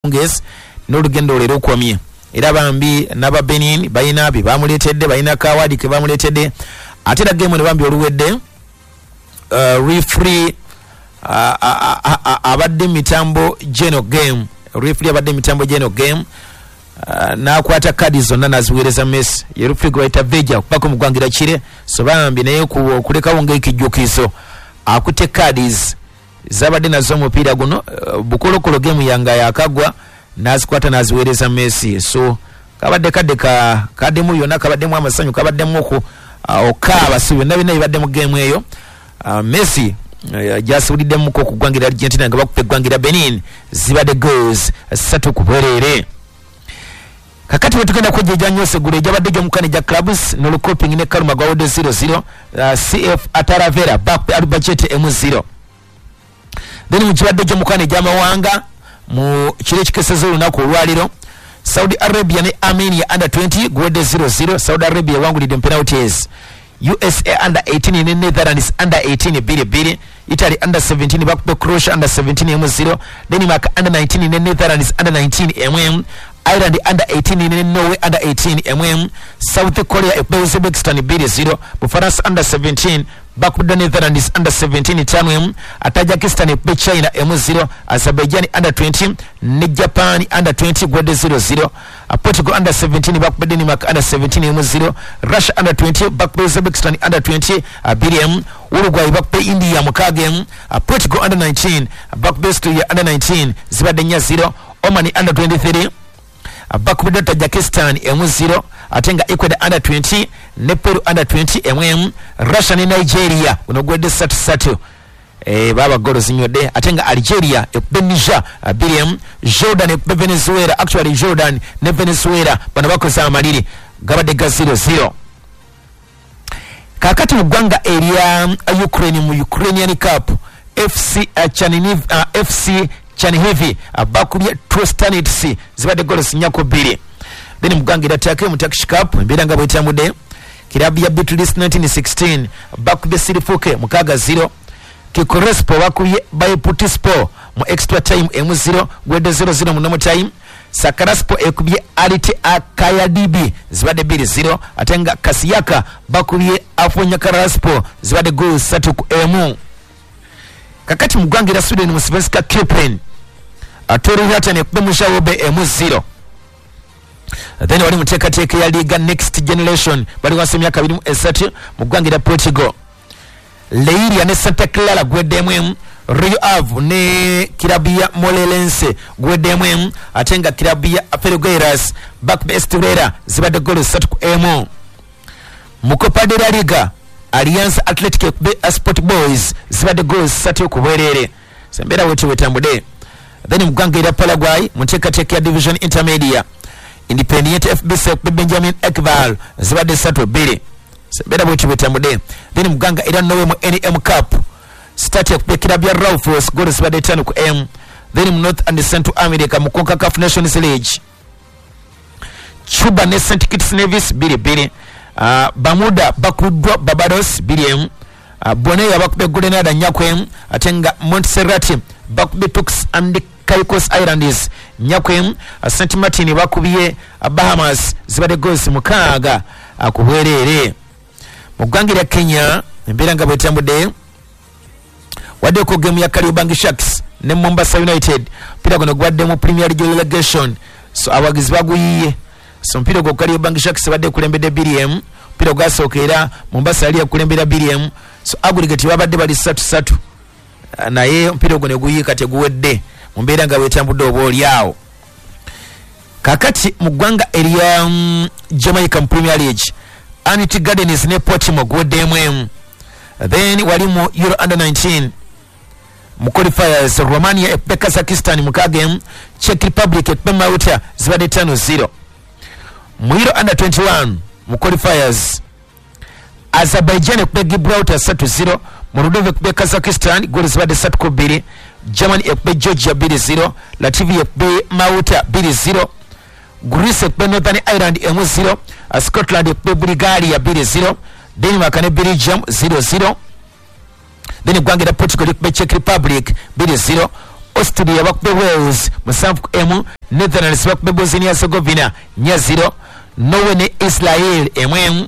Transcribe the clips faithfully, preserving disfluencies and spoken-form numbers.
akawungeezi n'olugendo olwo era okwamye. Era bambi n'aba Benin balina bye bamuleetedde, balina kawadi ke bamuleetedde. Ate era game eno bambi oluwedde, uh, referee uh, abadde mitambo geno game, referee abadde mitambo geno game, uh, n'akwata kadi zonna n'aziweereza Messi. Ye referee gwe bayita Veja okubako mu ggwanga kire. So bambi naye okulekawo ng'ekijjukizo akutte cards zabadde nazo omupiira guno, uh, bukolokolo game yanga yakagwa n'azikwata n'aziweereza Messi. So kabadde kadde ka kaddemu yonna, kabaddemu amasanyu, kabaddemu oku uh, okaaba, si byonna byonna bibadde mu game eyo. uh, Messi uh, gyasibuliddemukko ku ggwanga lya Argentina nga bakupa eggwanga lya Benin, zibadde goals ssatu ku bwereere. Kakati bwe tugenda kwejjeja nnyo segula egyabadde gy'omukano egya clubs n'olukoping ne Kaluma gwawedde zero zero, uh, C F Ataravera bakupa Albacete emu zero. Then mu kibadde gy'omukano egy'amawanga mu kiro ekikeseza olunaku olwaliro, Saudi Arabia ne Armenia under twenty guwedde zero zero. Saudi Arabia ewangulidde mu penalties. U S A under eighteen ne Netherlands under eighteen bbiri bbiri. Italy under seventeen bakupe Croatia under seventeen emu zero. Denmark under nineteen ne Netherlands under nineteen emu emu. Ireland under eighteen ne Norway under eighteen emu emu. South Korea ekube Uzbekistan bbiri zero. Bufaransa under seventeen bakubidde Netherlands under seventeen ttaano emu. Tajikistan ekube China emu zero. Azerbaijan under twenty ne Japan under twenty gwedde zero zero. Portugal under seventeen bakubidde Denmark under seventeen emu zero. Russia under twenty bakubidde Uzbekistan under twenty bbiri emu. Uruguay bakubidde India mukaaga emu. Portugal under nineteen bakubidde Austria under nineteen zibadde nnya zero. Oman under twenty-three bakubidde Tajikistan emu zero. Ate nga Ecuador under twenty ne Peru under twenty emu emu. Russia ne Nigeria guno gwedde ssatu ssatu, eh, baba golo zinywedde. Ate nga Algeria ekube Niger bbiri emu. Jordan ekube Venezuela, actually Jordan ne Venezuela bano bakoze amaliri gabadde ga zero zero. Kakati mu ggwanga erya Ukraine mu Ukrainian Cup, F C Chernihiv, uh, F C Chernihiv bakubye Trostanets zibadde golo nnya ku bbiri. Then mu ggwanga erya Turkey mu Turkish Cup embeera nga bwetambudde, kirabu ya Bitlis nineteen sixteen bakubye Sirifuke mukaaga zero. Kikorespo bakubye Bayputispo mu extra time emu zero gwedde zero zero mu normal time. Sakaraspo ekubye Alite Akayadibi zibadde bbiri zero. Ate nga Kasiyaka bakubye Afonyakaraspo zibadde goal ssatu ku emu. Kakati mu ggwanga erya Sweden mu Svenska Cupen, Torrihatan ekubye Mushawobe emu zero. Then wali muteekateeka ya Liga Next Generation bali wansi emyaka abiri mu esatu mu ggwanga erya Portugal, Leiria ne Santa Clara gweddemu emu. Rio Ave ne kirabu ya Morelense gweddemu emu. Ate nga kirabu ya Felgueiras bakube Estrela zibadde golo ssatu ku emu. Mu Copa de la Liga, Alianza Athletic ekube Sport Boys zibadde golo ssatu ku bwereere. Sembeera wetu wetambudde. Then mu ggwanga erya Paraguay mu nteekateeka ya Division Intermedia, Independiente F B C ekube Benjamin Ekval zibadde ssatu bbiri. Sembeera bwetu wetambudde. Then mu ggwanga erya Norway mu N M Cup, Start ekube kirabu ya Raufoss golo zibadde ttaano ku emu. Then mu North and Central America mu CONCACAF Nations League, Cuba ne Saint Kitts Nevis bbiri bbiri. Uh, Bermuda bakubiddwa Barbados bbiri emu. Uh, Bonaire bakubye Grenada nnya ku emu. Ate nga Montserrat bakubye Turks and Caicos Islands nnya ku emu. Uh, Saint Martin bakubye uh, Bahamas zibadde goals mukaaga uh, ku bwereere. Mu ggwanga erya Kenya embeera nga bwetambudde, waddeko game ya Kariobangi Sharks ne Mombasa United. Mpira guno gwadde mu Premier League relegation, so abawagizi baguyiye. So mpira gwo Kariobangi Sharks badde kulembedde bbiri emu, mpira gwasooka era Mombasa yali yakulembera bbiri emu. So aggregate babadde bali ssatu ssatu, naye mpira ogwo ne guyiika teguwedde mu mbeera nga bwetambudde oba oli awo. Kakati mu ggwanga erya um, Jamaica mu Premier League, Anit Gardens ne Portimao guweddemu emu. Then wali mu Euro under nineteen mu qualifiers, Romania ekube Kazakhstan mukaaga emu, Czech Republic ekube Malta zibadde ttaano zero. Mu Euro under twenty-one mu qualifiers, Azerbaijan ekube Gibraltar ssatu zero, Moldova ekube Kazakhstan goli zibadde ssatu ku bbiri, Germany ekube Georgia bbiri zero, Latvia ekube Malta bbiri zero, Greece ekube Northern Ireland emu zero, Scotland ekube Bulgaria bbiri zero, Denmark ne Belgium zero zero. Then eggwanga erya Portugal likube Czech Republic bbiri zero, Austria bakube Wales musanvu ku emu. Netherlands bakube Bosnia Herzegovina nnya zero. Norway ne Israel emu emu.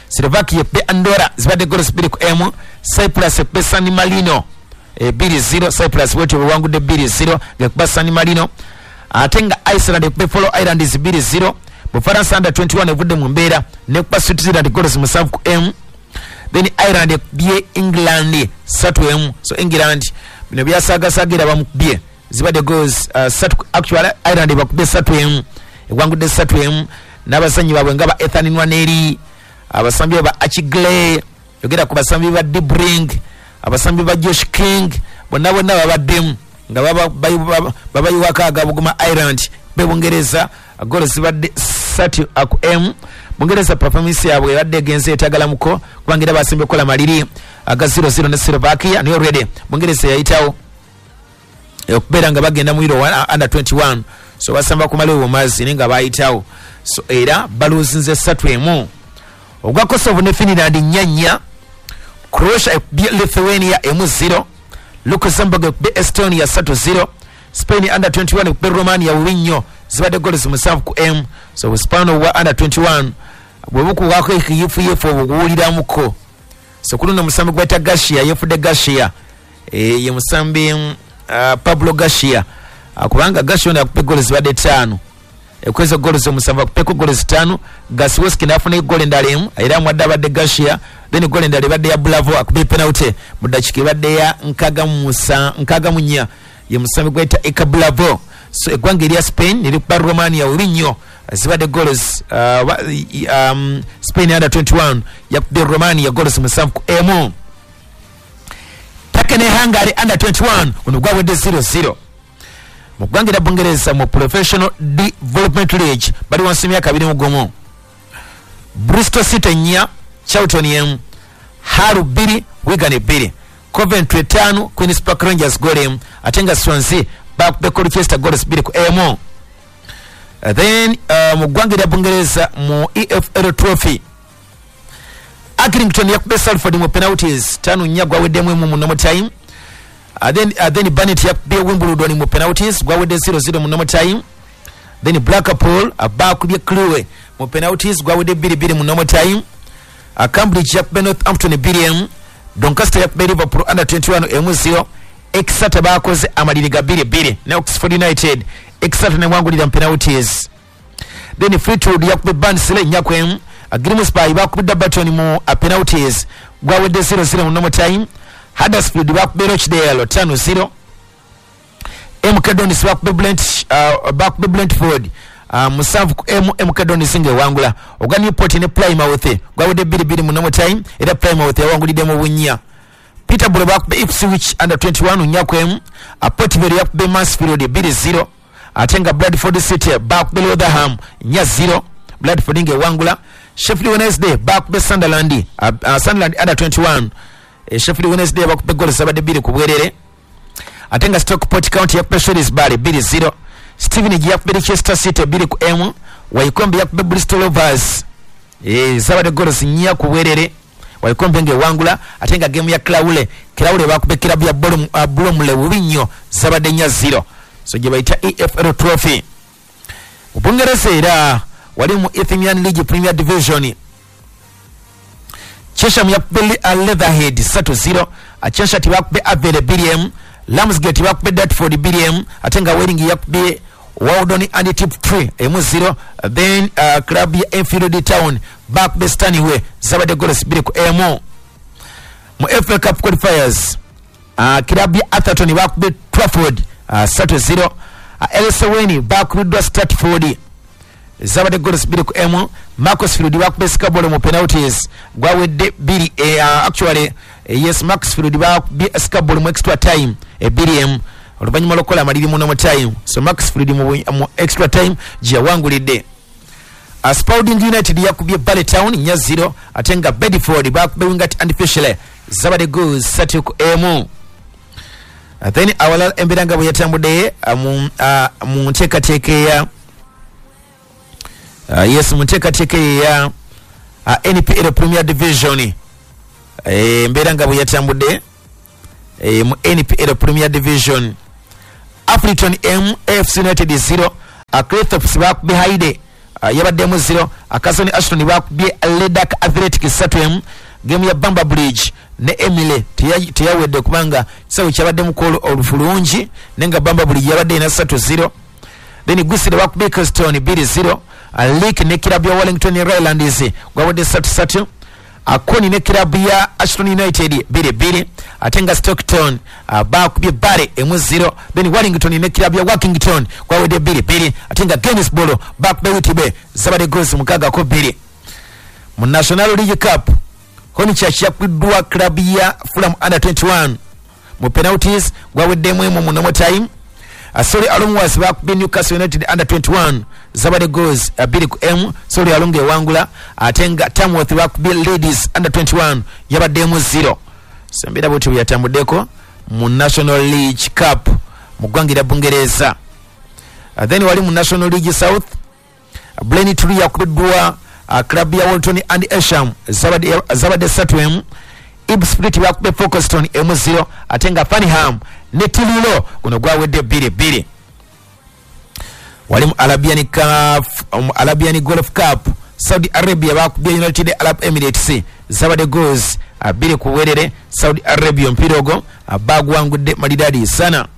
Slovakia ekube Andorra zibadde goals bbiri ku emu. Cyprus ekube San Marino bbiri zero. Cyprus bwetyo bwewangudde bbiri zero ng'ekuba San Marino. Ate nga Iceland ekube Faroe Islands bbiri zero. Bufaransa under twenty-one evudde mu mbeera nekuba Switzerland goals musanvu ku emu. Then Ireland ekubye England ssatu emu. So England bino byasaagasaagira bamukubye zibadde goals uh, ssatu. Actually Ireland bakubye ssatu emu, ewangudde ssatu emu n'abazannyi baabwe nga ba Ethan Nwaneri, abasambi ba Archie Gray, yogera ku basambi ba Debring, abasambi ba Josh King, bonna bonna babaddemu nga babayiwako agabuguma Ireland. Be Bungereza goals zibadde ssatu ku emu. Bungereza performance yaabwe ebadde egenze etagalamuko kubanga era basembe okukola maliri aga zero zero ne Slovakia, naye already Bungereza yayitawo okubeera nga bagenda mu Euro under twenty-one, so basamba kumala obumazi naye nga bayitawo, so era baluzinze ssatu emu. Ogwa Kosovo ne Finland nnya nnya. Croatia ekubye Lithuania emu zero. Luxembourg ekubye Estonia ssatu zero. Spain under twenty-one ekubye Romania bubi nnyo zibadde goals musanvu ku emu. So busipano bwa under twenty-one bwe bukuwako ekiyifuyifu obuguwuliramuko. So ku luno omusambi gwayita Garcia, yefudde Garcia, e, ye musambi uh, Pablo Garcia, uh, kubanga Garcia ono akubye goals zibadde ttaano, ekweza goals omusanvu akubeko goals ttaano. Gasiwoski n'afuna eggolo endala emu era mwadde abadde Garcia. Then eggolo endala ebadde ya Bravo akubye penalty mu ddakiika ebadde ya nkaaga mu nnya, ye musambi gwayita Eka Bravo. So eggwanga erya Spain nerikuba Romania bubi nnyo zibadde goals uh, um, Spain under twenty-one yakubye Romania goals musanvu ku emu. Turkey ne Hungary under twenty-one guno gwawedde zero zero. Mu ggwanga erya Bungereza mu Professional Development League bali wansi emyaka abiri mu gumu. Bristol City nnya, Charlton emu, Hull bbiri, Wigan bbiri, Coventry ttaano, Queens Park Rangers goal emu, ate nga Swansea bakubye Colchester goals bbiri ku emu. Then uh, mu ggwanga erya Bungereza mu E F L Trophy Accrington yakubye Salford mu penalties ttaano nnya gwaweddemu emu mu normal time. Uh, then, uh, then Barnet yakubye Wimbledon mu penalties gwawedde zero zero mu normal time. Then Blackpool bakubye Crewe mu penalties gwawedde bbiri bbiri mu normal time. Uh, Cambridge yakubye Northampton bbiri emu. Doncaster yakubye Liverpool under twenty-one emu zero. Exeter bakoze amaliri ga bbiri bbiri ne Oxford United. Exeter newangulira mu penalties. Then Fleetwood yakubye Barnsley nnya ku emu. Grimsby bakubye Burton mu penalties gwawedde zero zero mu normal time. Huddersfield bakubye Rochdale ttaano zero. M K Dons bakubye Brent uh, bakubye Brentford uh, musanvu ku emu. M K Dons ng'ewangula. Ogwa Newport ne Plymouth gwawedde bbiri bbiri mu normal time era Plymouth yawangulidde mu bunnya. Peterborough bakubye Ipswich under twenty-one nnya ku emu. Port Vale yakubye Mansfield bbiri zero. Ate nga Bradford City bakubye Rotherham nnya zero. Bradford ng'ewangula. Sheffield Wednesday bakubye Sunderland uh, uh, Sunderland under twenty-one. E, Sheffield Wednesday bakubye goals zabadde bbiri ku bwerere. Ate nga Stockport County yakubye Shrewsbury bbiri zero. Stevenage yakubye Leicester City bbiri ku emu. Wycombe yakubye Bristol Rovers e, zabadde goals nnya ku bwerere. Wycombe ng'ewangula. Ate nga game ya Crawley, Crawley bakubye club ya Bromley bubi nnyo zabadde nnya zero. So gye bayita E F L Trophy. Mu Bungereza era wali mu Ethiopian League Premier Division Chesham yakubye Leatherhead ssatu zero. Cheshire bakubye Avele bbiri emu. Ramsgate bakubye Dartford bbiri emu. Ate nga Welling yakubye Waldon and Tiptree emu zero. Then uh, club ya Enfield Town bakubye Stanway zabadde goals bbiri ku emu. Mu F A Cup qualifiers uh, club ya Atherton bakubye Trafford uh, ssatu zero. Uh, L S Weni bakubiddwa Stratford zabadde goals bbiri ku emu. Macclesfield bakubye Scarborough mu penalties gwawedde bbiri eh, uh, actually eh, yes Macclesfield bakubye Scarborough mu extra time bbiri emu oluvannyuma lw'okukola amaliri mu normal time. So Macclesfield mu, mu extra time gye yawangulidde. Uh, Spalding United yakubye Bally Town nnya zero. Ate nga Bedford bakubye Wingate and Finchley zabadde goals ssatu ku emu. Uh, then awalala embeera nga bwe yatambudde uh, mu, uh, mu nteekateeka eya Uh, yes mu nteekateeka eya uh, N P L Premier Division embeera nga bwe yatambudde e, mu N P L Premier Division Affleton M F C United zero, Claythorpe bakubye Hyde uh, yabaddemu zero, Akasoni Ashton bakubye Ledak Athletic ssatu emu. Game ya Bamba Bridge ne Emile teyawedde kubanga kisawe kyabaddemu olufulungi, nenga Bamba Bridge yabadde ina ssatu zero. Then Gusire bakubye Eccleston bbiri zero, Leek ne kirabu ya Wellington Highlanders gwabadde ssatu ssatu, Akoni ne kirabu ya Ashton United bbiri bbiri, ate nga Stockton uh, bakubye Bare emu zero. Then Wellington ne kirabu ya Workington gwabadde bbiri bbiri, ate nga Gainsborough bakubye Whitby zabadde goals mukaaga ku bbiri. Mu National League Cup Hornchurch yakubiddwa club ya Fulham under twenty-one mu penalties gwaweddemu emu mu normal time. Asoli Alumwas bakubye Newcastle United under twenty-one zabadde goals bbiri ku emu, Soli Alunga ewangula, ate nga Tamworth bakubye Ladies under twenty-one yabaddemu zero. Sembera bwetyo bwe yatambuddeko mu National League Cup mu ggwanga lya Bungereza. Then wali mu National League South, Braintree yakubiddwa Uh, club ya Walton and Esham zabadde zabadde ssatu emu, Ipswich bakubye Folkestone emu zero, ate nga Farnham ne Truro guno gwawedde bbiri bbiri. Wali mu Arabian Cup, um, Arabian Golf Cup, Saudi Arabia bakubye United Arab Emirates zabadde goals bbiri ku bwerere. Saudi Arabia omupiira ogwo bagwangudde malidadi sana.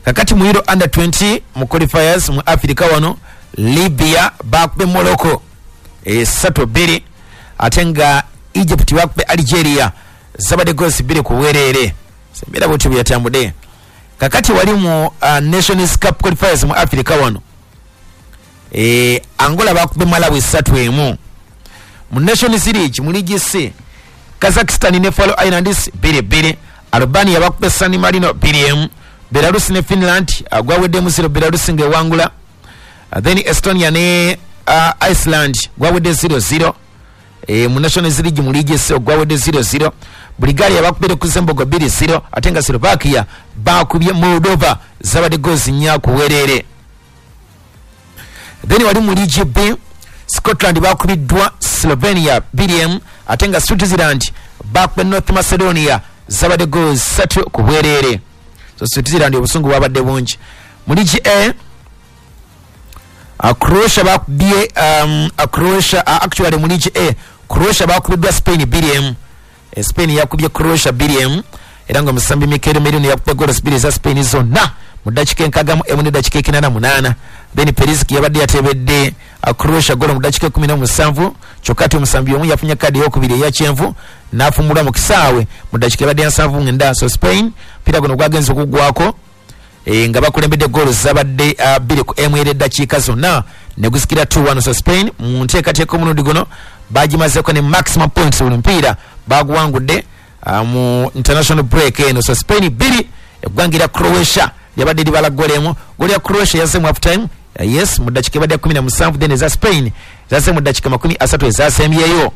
Kakati mu Euro under twenty mu qualifiers mu Africa wano Libya bakubye Morocco ssatu bbiri, ate nga Egypt bakubye Algeria zabadde goals bbiri ku bwerere. Sembera bwetyo bwe yatambudde. Kakati wali mu uh, Nations Cup qualifiers mu Africa wano e, Angola bakubye Malawi ssatu emu. Mu Nations League mu League C, Kazakhstan ne Faroe Islands bbiri bbiri, Albania bakubye San Marino bbiri emu, Belarus ne Finland gwaweddemu zero, Belarus ng'ewangula. Uh, then Estonia ne uh, Iceland gwawedde zero zero. E, mu Nations League mu League C gwawedde zero zero. Bulgaria bakubye Luxembourg bbiri zero, ate nga Slovakia bakubye Moldova zabadde goals nnya ku bwerere. Then wali mu League B, Scotland bakubiddwa Slovenia bbiri emu, ate nga Switzerland bakubye North Macedonia zabadde goals ssatu ku bwerere. So Switzerland obusungu bwabadde bungi. Mu League A, Uh, Croatia bakubye um, uh, Croatia uh, actually mu League A, Croatia bakubiddwa Spain bbiri emu. E, Spain yakubye Croatia bbiri emu, era nga omusambi Mikel Merino yakubye goals bbiri za Spain zonna mu ddakiika enkaaga mu emu n'eddakiika ekinaana munaana. Then Perisic yabadde yatebedde uh, Croatia golo mu ddakiika ekkumi n'omusanvu, kyokka ate omusambi omu yafunye kaadi eyokubiri eya kyenvu n'afumulwa mu kisaawe mu ddakiika ebadde ya nsanvu mwenda. So Spain mpira guno gwagenze okuggwako e, nga bakulembedde goals zabadde bbiri uh, ku emu era eddakiika zonna ne gusikira two one. So Spain mu nteekateeka omulundi guno bagimazeeko ne maximum points, buli mupiira baguwangudde uh, mu international break eno. So Spain bbiri, eggwanga lya Croatia lyabadde libala goal emu. Goal ya Croatia yazze mu half time, uh, yes, mu ddakiika ebadde ya kumi na musanvu, then eza Spain zazze mu ddakiika makumi asatu ezasembyeyo.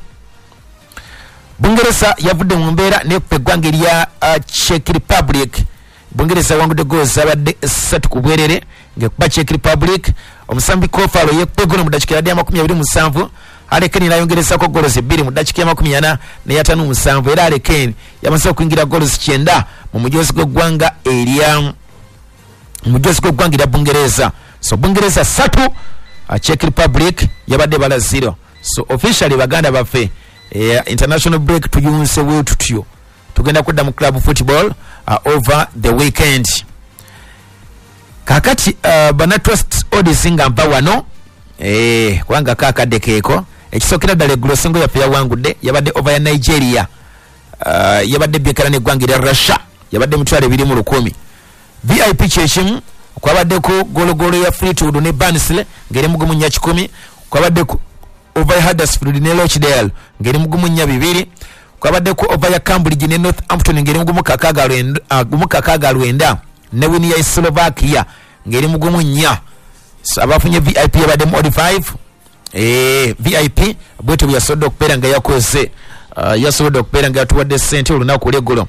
Bungereza yavudde mu mbeera n'ekuba eggwanga erya uh, Czech Republic. Bungereza wangudde goals zabadde ssatu ku bwerere ng'ekuba Czech Republic. Omusambi Kofalo yekubye goolo mu ddakiika ebadde ya makumi abiri mu musanvu. Harry Kane n'ayongerezako goals bbiri mu ddakiika ya makumi ana n'eyataano mu musanvu, era Harry Kane yamaze okuyingira goals kyenda mu mujoozi gw'eggwanga erya mujoozi gw'eggwanga erya Bungereza. So Bungereza ssatu, Czech Republic yabadde bala zero. So officially baganda baffe, eh, international break tuyunse we tutyo tugenda kudda mu club football uh, over the weekend. Kakati uh, bana trust odds nga mpa wano eh kubanga kakadde keeko ekisookera ddala eggulo singo yaffe yawangudde yabadde over ya Nigeria, uh, yabadde byekala n'eggwanga erya Russia yabadde mitwalo ebiri mu lukumi. V I P kyekimu kwabaddeko gologolo ya Fleetwood ne Barnsley ng'eri mu gumu nnya kikumi, kwabaddeko over ya Huddersfield ne Rochdale ng'eri mu gumu nnya bibiri, kwabaddeko over ya Cambridge ne Northampton ng'eri mu gumu kakaaga lwenda, uh, gumu kakaaga lwenda ne wini ya Slovakia ng'eri mu gumu nnya. So, abafunye V I P yabadde mu odd five. Eh, V I P bwetyo bwe yasobodde okubeera nga yakoze uh, yasobodde okubeera nga yatuwadde ssente olunaku olw'eggulo.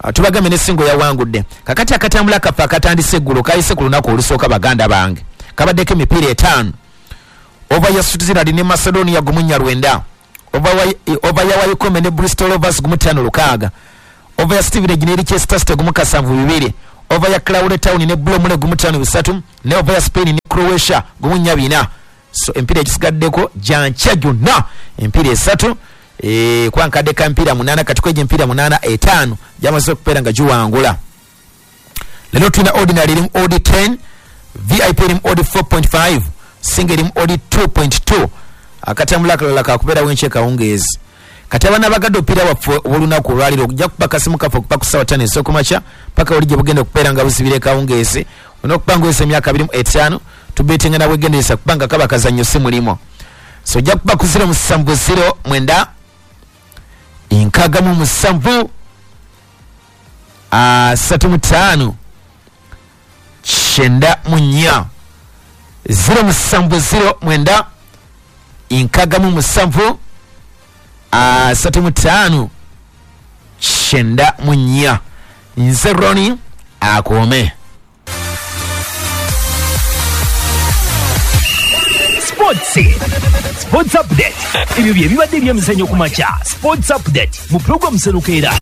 Uh, tubagambe n'essingo yawangudde. Kakati akatambula kaffe akatandise eggulo kayise ku lunaku olusooka baganda bange kabaddeko emipiira etaano. Over ya Switzerland ne Macedonia gumu nnya lwenda, over ya Wycombe ne Bristol Rovers gumu ttaano lukaaga, over ya Stevenage ne Leicester City gumu kasanvu bibiri, Over ya Cloud Town ne Blomule gumu ttaano bisatu, ne over ya Spain ne Croatia gumu nnya bina. So empiira egisigaddeko gyankya gyonna empiira esatu, eh, kuba nkadde ka mpiira munaana, kati kwejo empiira munaana etaano gyamaze okubeera nga giwangula. Leero tulina ordinary erimu odd ten, V I P erimu odd four point five, single erimu odd two point two. Akatambula akalala kakubeerawo enkya kawungeezi. Kati abaana bagadde omupiira waffe ow'olunaku olwaleero okujja kuba kasimu kaffe okuva ku ssaawa ttaano ez'okumakya paka oli gye bugenda okubeera nga buzibira ekawungeezi. Olina okuba ng'oweza emyaka abiri mu etaano, tubeetinga na bwegendereza kubanga kaba kazannyo si mulimu. So ojja kuba ku zero musanvu zero mwenda nkaaga mu musanvu asatu mu ttaano kyenda mu nnya, zero musanvu zero mwenda nkaaga mu musanvu asatu mu ttaano kyenda mu nnya. Nze Ronnie akuume. Sports Sports Update. Ebyo bye bibadde ebyemizannyo ku makya. Sports Update mu program Senukeera.